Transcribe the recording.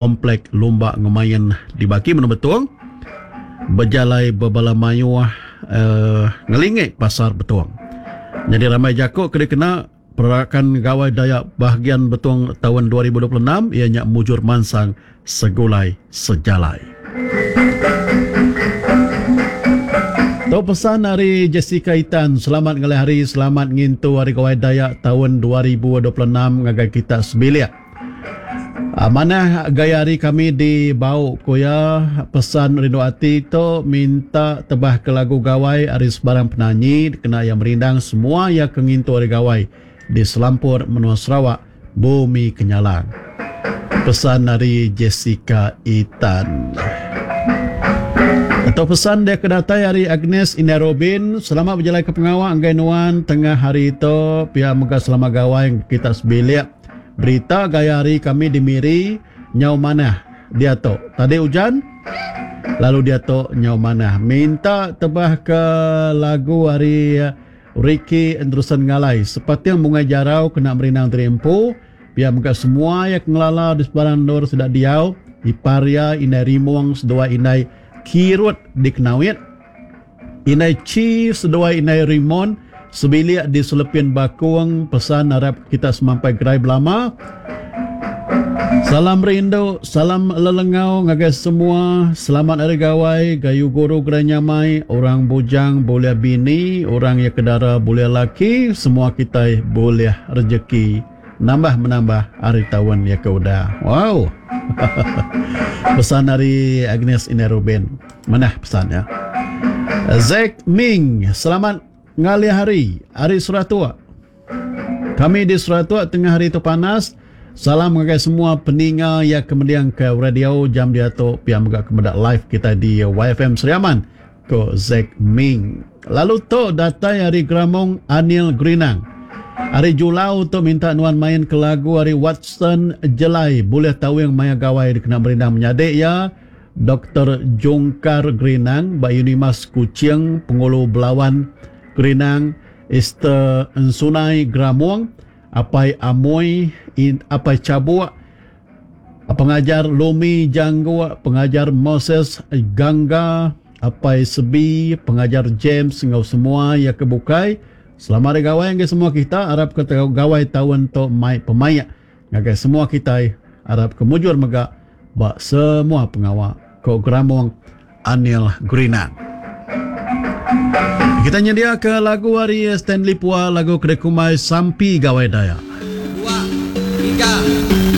Komplek Lumba enggau Main di Baki Menua Betong bejalai bebala mayuh ngelingi Pasar Betong. Nyadi rambai jaku ke dikena Perarakan Gawai Dayak Bahagian Betong taun 2026 iya nya Mujur Mansang Segulai Sejalai. Tu pesan ari Jessica Itan, selamat ngalih hari, selamat ngintu Hari Gawai Dayak taun 2026 ngagai kita sebilik. Manah gaya hari kami di Bau, ku iya. Pesan rindu ati tu minta tebah ke lagu gawai ari sebarang penanyi dikena iya merindang semua iya ke ngintu Hari Gawai di selampur menua Sarawak, Bumi Kenyalang. Pesan ari Jessica Itan. Tu pesan dia ke datai ari Agnes Indai Robin, selamat bejalai ke pengawa enggai nuan tengah hari tu pia mega selamat gawai kita sebilik. Berita gaya hari kami di Miri nyau manah diatu. Tadi ujan lalu diatu nyau manah. Minta tebah ke lagu ari Ricky Andrewson Ngalai Sepating Bungai Jarau kena merindang diri empu. Pia mega semua iya ke ngelala di sebarang endur sida diau, ipar iya indai Rimong seduai indai Kirut di Kenawit. Indai Chi seduai indai Rimon sebilik di Selepin Bakung pesan arap kita semampai gerai belama. Salam rindu, salam lelengau ngagai semua. Selamat Hari Gawai, gayu guru gerai nyamai, orang bujang bulih bini, orang iya ke dara bulih laki, semua kitai bulih rejeki nambah menambah ari taun iya ke udah. Wow. Pesan ari Agnes Indai Rubin. Manah pesan iya. Zack Ming, selamat ngalih hari ari Seratuk. Kami di Seratuk tengah hari tu panas. Salam ngagai semua peninga iya ke mending ke radio jam diatu pia mega ke meda live kitai di YFM Sri Aman, ku Zack Ming. Lalu tu datai ari Gramong Anil Gerinang. Ari Julau tu minta nuan main ke lagu ari Watson Jelai bulih tawing maya gawai dikena merindang menyadi iya Doktor Jungkar Gerinang ba Unimas Kuching Pengulu Belawan Gerinang Esther Ensunai Gramong, Apai Amoi, Apai Chabuk, Pengajar Lumi Jangguk, Pengajar Moses Gangga, Apai Sebi, Pengajar James enggau semua iya ke bukai. Selamat Hari Gawai ngagai semua kita. Arap ke gawai taun tu mai pemaik ngagai semua kitai. Arap ke mujur mega ba semua pengawa, ku Gramong Anil Gerinang. Kita nyediaka lagu ari Stanley Pua lagu ke dikumbai Sampi Gawai Dayak. Dua, tiga.